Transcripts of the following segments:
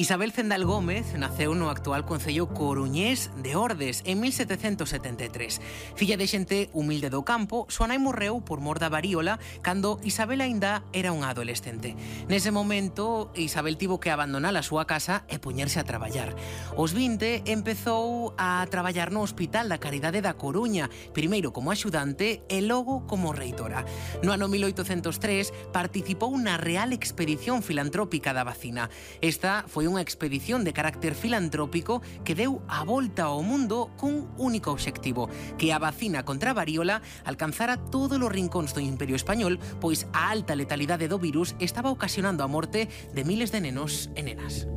Isabel Zendal Gómez naceu no actual concello coruñés de Ordes en 1773. Filla de xente humilde do campo, súa nai morreu por mor da varíola cando Isabel aínda era unha adolescente. Nese momento, Isabel tivo que abandonar a súa casa e poñerse a traballar. Aos 20 empezou a traballar no Hospital da Caridade da Coruña, primeiro como axudante e logo como reitora. No ano 1803 participou na Real Expedición Filantrópica da Vacina. Esta foi unha expedición de carácter filantrópico que deu a volta ao mundo cun único obxectivo, que a vacina contra a varíola alcanzara todos os rincóns do Imperio Español, pois a alta letalidade do virus estaba ocasionando a morte de miles de nenos e nenas.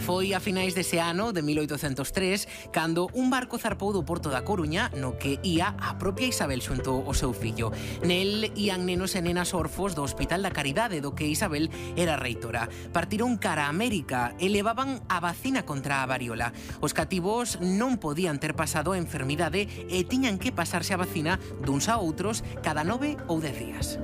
Foi a finais dese ano, de 1803, cando un barco zarpou do porto da Coruña no que ía a propia Isabel xunto ao seu fillo. Nel ían nenos e nenas orfos do Hospital da Caridade, do que Isabel era reitora. Partiron cara a América e levaban a vacina contra a varíola. Os cativos non podían ter pasado a enfermidade e tiñan que pasarse a vacina duns a outros cada 9 ou 10 días.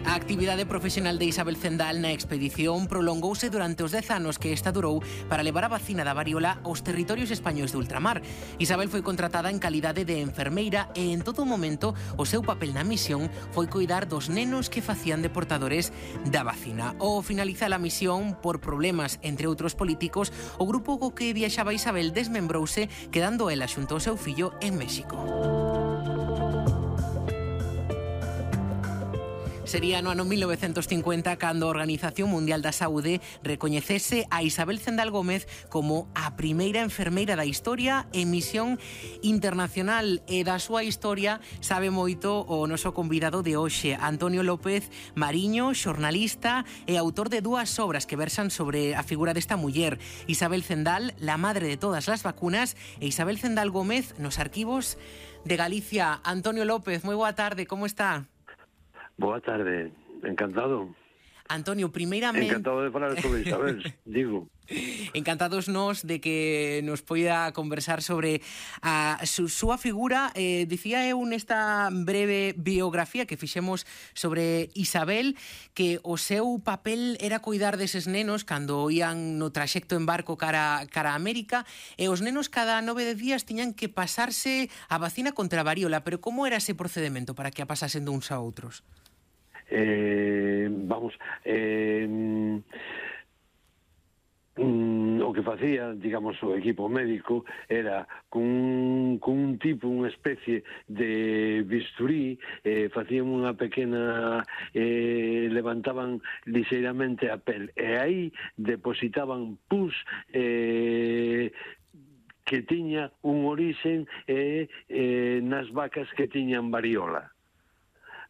A actividade profesional de Isabel Zendal na expedición prolongouse durante os 10 anos que esta durou para levar a vacina da varíola aos territorios españois de ultramar. Isabel foi contratada en calidade de enfermeira e en todo momento o seu papel na misión foi coidar dos nenos que facían de portadores da vacina. Ao finalizar a misión, por problemas entre outros políticos, o grupo co que viaxaba Isabel desmembrouse, quedando ela xunto ao seu fillo en México. Sería no ano 1950 cando a Organización Mundial da Saúde recoñecese a Isabel Zendal Gómez como a primeira enfermeira da historia en misión internacional, e da súa historia sabe moito o noso convidado de hoxe, Antonio López Mariño, xornalista e autor de dúas obras que versan sobre a figura desta muller: Isabel Zendal, la madre de todas las vacunas, e Isabel Zendal Gómez nos arquivos de Galicia. Antonio López, moi boa tarde, como está? Boa tarde, encantado. Antonio, primeiramente... Encantado de falar sobre Isabel, digo. Encantados nós de que nos poida conversar sobre a súa figura. Dicía eu nesta breve biografía que fixemos sobre Isabel que o seu papel era coidar deses nenos cando ían no traxecto en barco cara a América, e os nenos cada 9 días tiñan que pasarse a vacina contra a varíola. Pero como era ese procedemento para que a pasasen duns a outros? O que facía, digamos, o equipo médico era cun tipo, unha especie de bisturí, facían unha pequena, levantaban lixeiramente a pel e aí depositaban pus que tiña un orixen nas vacas que tiñan varíola.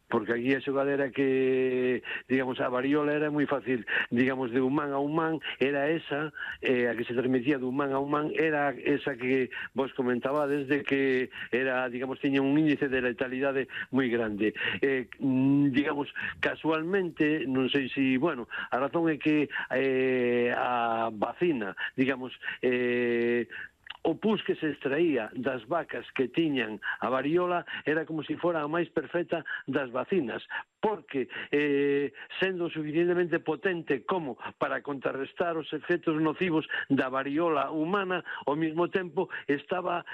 Porque aquí a xogadera que, digamos, a varíola era moi fácil, digamos, de humán a humán, era esa, a que se transmitía de humán a humán, era esa que vos comentabades, de que era, digamos, tiña un índice de letalidade moi grande. Digamos, casualmente, non sei se, bueno, a razón é que a vacina, digamos, o pus que se extraía das vacas que tiñan a varíola era como se fora a máis perfecta das vacinas, porque sendo suficientemente potente como para contrarrestar os efectos nocivos da varíola humana, ao mesmo tempo estaba,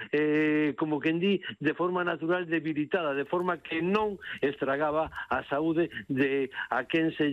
como quen di, de forma natural debilitada, de forma que non estragaba a saúde de a quen se